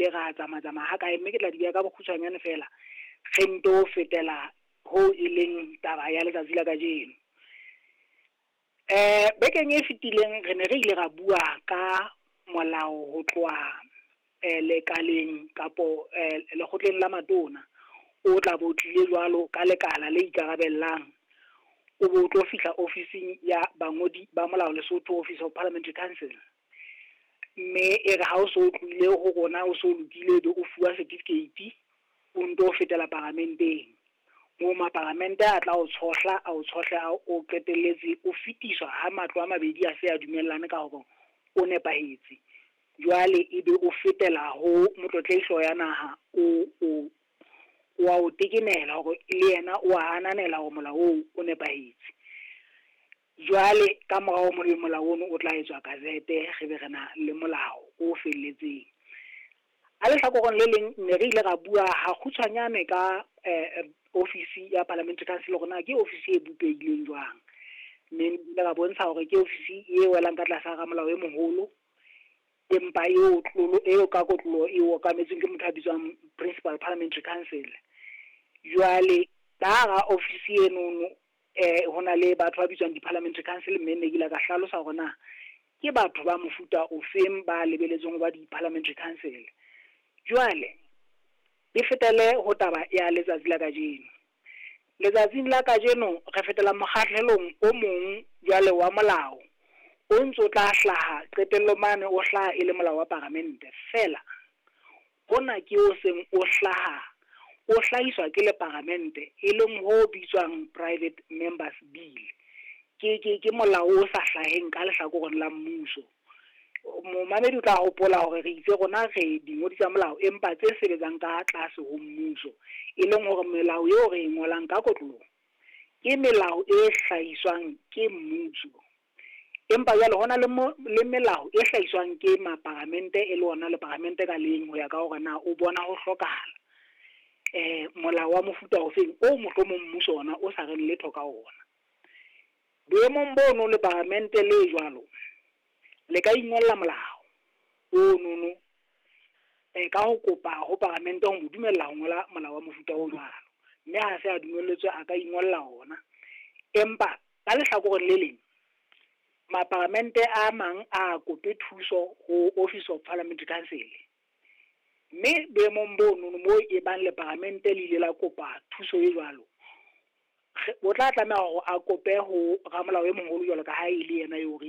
ile ra tsamaya-tsamaya ha kae, mme ke tla di beha ka bokgutshwanyane fela, re nto fetela ho e leng taba ya letsatsi la kajeno. Bekeng e fetileng re ne re ile ra bua ka molao ho tloha lekaleng kapo lekgotleng la matona, o tla bo tlile jwalo ka lekala le ikarabellang, o bo tlo fihla ofising ya bangodi ba molao Lesotho, Office of Parliamentary Council. Mme e re ha o so tlohile ho rona, o so lokile, ebe o fuwa certificate, o nto fetela paramenteng, moo maparamente a tla o tshohla, a o tshohle, a o qetelletse o fetiswa ha matlo a mabedi a se a dumellane ka hore o nepahetse. Jwale ebe o fetela ho Motlotlehi Hlooho ya Naha, o wa o tekenela hore le yena o a ananela hore molao oo o nepahetse. Jwale ka morao molao ono o tla etswa gazette, re be re na le molao o felletseng. A lehlakoreng le leng ne re ile ra bua ha kgutshwanyane ka ofisi ya Parliamentary Council hore na ke ofisi e bopehileng jwang, mme ile ra bontsha hore ke ofisi e welang ka tlasa ramolao e moholo, empa eo tlolo eo ka kotloloho e okametsweng ke motho a bitswang Principal Parliamentary Council. Jwale ka hara ofisi enono ho na le batho ba bitswang di-Parliamentary Council, mme ne ke ile ka hlalosa hore na ke batho ba mofuta ofeng ba lebeletsweng ho ba di-Parliamentary Council. Jwale ke fetele ho taba ya letsatsi la kajeno. Letsatsing la kajeno re fetela mokgahlelong o mong jwale wa molao o ntso tla hlaha qetellong mane, o hlaha e le molao wa paramente fela. Hona ke o seng o hlaha, o hlahiswa ke le paramente, e leng ho bitswang Private Members Bill. Ke molao o sa hlaheng ka lehlakoreng la mmuso. Momamedi o tla hopola hore re itse rona re dingodi tsa molao, empa tse sebetsang ka tlase ho mmuso, e leng hore melao eo re e ngolang ka kotloloho ke melao e hlahiswang ke mmuso. Empa jwale hona le le melao e hlahiswang ke maparamente, e le ona le paramente ka leng ho ya ka hore na o bona ho hlokahala molao wa mofuta ofeng o mohlomong mmuso ona o sa reng letho ka ona. Boemong bono le paramente le jwalo le ka ingolla molao o nono ka ho kopa ho paramente ho mo dumella ho ngola molao wa mofuta o jwalo, mme ha se a dumelletswe a ka ingolla ona. Empa ka lehlakoreng le leng maparamente a mang a kope thuso ho Office of Parliamentary Council, mme boemong bono moo e bang le paramente le ile la kopa thuso e jwalo, o tla tlameha hore a kope ho ramolao e moholo jwalo ka ha e le yena eo re